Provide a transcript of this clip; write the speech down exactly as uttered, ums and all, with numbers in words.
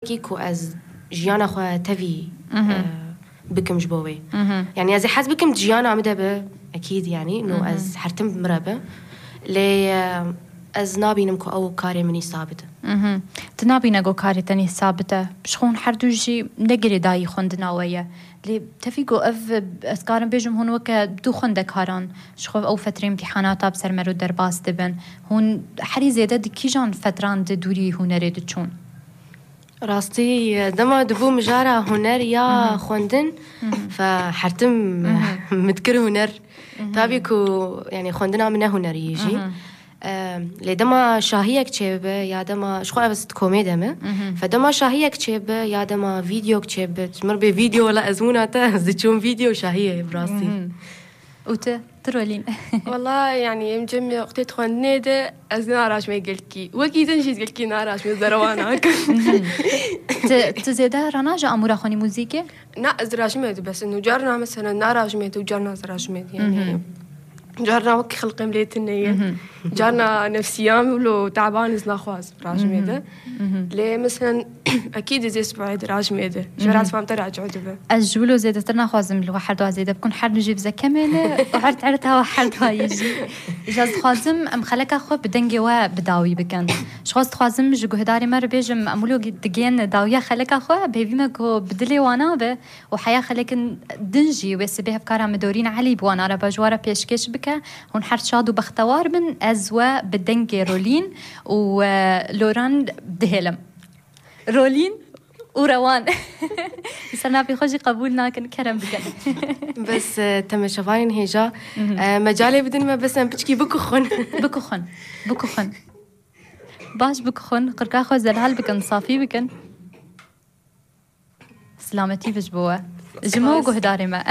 Kî ku ez jiyana xwe tevî e, bikim ji bo wê. Yani ez ê hez bikim jiyana min de be, ekîd yani, no ez hertim bi min re be. Lê e, ez nabînim ku ew karê min î sabit e. Tu nabîne ku karê tenê sabit e. Ji xwe hûn her du jî ne girêdayî xwendina we ye. Lê tevî ku ev, ez karim bêjim, hûn weke du xwendekaran ji xwe ew fetrê îmtîhanata bi ser mero derbas dibin. Hûn herî zêde di kîjan fetran di dûrî hunerê diçûn? Rastî, dema dibû mijara huner ya xwendin, fe hertim min dikir huner. Tabî ku, yani, xwendina min ne hunerî jî. Em, lê dema şahiyek çêbibe ya dema, ji xwe ez di komê de me. Fe dema şahiyek çêbibe ya dema vîdeok çêbibe, ji min bê vîdeo, wela ezmûna te, ez diçûm vîdeo şahiyê bi rastî. Û tu, tu Rolîn? Wala, yani, em cem wextê xwendinê de ez naraşmê gelkî. Wekî din jî gelkî naraşmê, zerwa nakim. Tu, tu zêde ranaje amûra xwenî muzîkê? Na, ez diraşmê dibes. Û carna mesela naraşmê, û carna ziraşmê. Yani, carna wekî xelqê milê tune ye. Carna nefsiya min wilo taban, ez naxwaz raşmê de. Lê mesela, ekîd ez ê sibahê diraşmê de. Ji ber ez fam te raciû dibe. Ez ji wilo zêdetir naxwazim li we herduwa zêde bikin. Her du jî bi zekemê ne û her erd hewa herduwa yê jî. Îja ez dixwazim em xeleka xwe bi dengê we bi dawî bikin. Ji xwe ez dixwazim ji guhdarê me re bêjim, em wilo digên dawiya xeleka xwe, bi hêvî me ku bi dilê wana be û heya xelekin din jî wê sibê hevkara min Dorîn Elî bi wana re be, ji we re pêşkêş bike. Hûn her şad û bextewar bin, ez we bi dengê Rolîn û e, Loran dihêlim. Rolîn û Rewan. Ser navê xwe jî qebûl nakin, kerem bikin. Bes e, temeşevanên hêja, e, mecalê bidin me, bes em piçkî bikuxin. Bikuxin. Bikuxin. Baş bikuxin, qirka xwe zelal bikin, safî bikin. Silametî bi ji bo we. Ji me û guhdarê me.